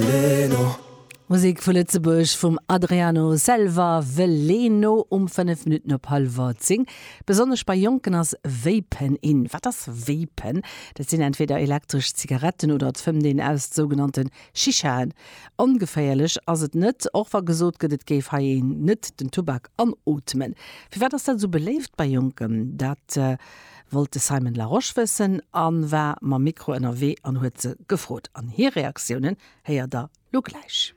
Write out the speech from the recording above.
Veleno. Musek vu Lëtzebuerg vum Adriano Selva, Veleno, um 5 Minutten op hallwer 10. Besonnesch bei Jonken ass Vapen in. Wat ass Vapen? Dat sinn entweder elektresch Zigaretten oder et fëmmt een aus sougenannte Shishaen. Ongeféierlech ass et net, och wa gesot gëtt, et géif hei een net den Tubak anootmen. Firwat ass dat esou beléift bei Jonken? Dat wollt de Simon Larosche wëssen a war mam Mikro ënnerwee an huet se gefrot. An hir Reaktiounen héiert der lo gläich.